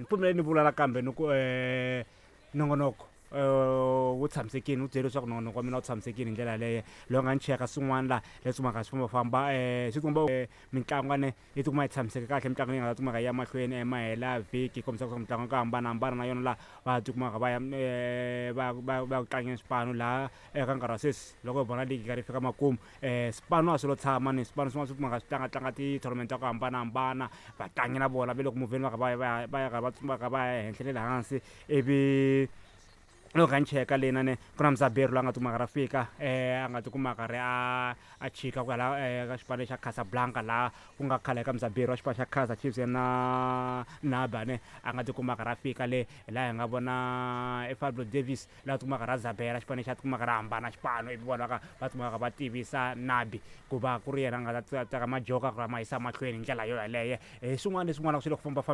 Ni pfumeleli ni vula nakambe ni ku nongonoko wu tshamisekile, wu byele leswaku nongonoko wa mina wu tshamisekile hi ndlela yaleyo. Loyi a nga ni cheka swin'wana la leswi mhaka swi fambafamba swi komba mitlangu ne yi tikuma yi tshamiseke kahle, mitlangu leyi nga ta tikuma yi ya mahlweni mahela vhiki, kombisa leswaku mitlangu ku hambanahambana na yona laha va tikumaka va ya va va va ya ku tlangeni swipano laha eka nkarhi wa sweswi. Loko hi vona ligi yi karhi yi fika makumu, swipano a swi lo tshama ni swipano swin'wana swi kumaka swi tlangatlanga ti-tournament ta ku hambanahambana. Vatlangi na vona va le ku muvheni, va kha va ya va ya va ya va va kha va ya henhla na le hansi. Ivi loko kha ni cheka lena ne ku na Mzaberi loyi a nga tikuma a karhi a fika, a nga tikuma a karhi a chika ku ya la ka xipano xa Casablanca, laha ku nga khale ka Mzaberi wa xipano xa Kaizer Chiefs na Naba ne a nga tikuma a karhi a fika le. Hi laha hi nga vona e Fabio Davis laha tikuma a karhi a zabela xipano lexi, a tikuma a karhi a hambana xipano, ivi vona va va tikuma va tivisa Nabi ku va ku ri yena a nga ta teka majoka ku ma yisa mahlweni hi ndlela yo yaleyo. Hi swin'wana leswin'wana swi le ku fambafambeni.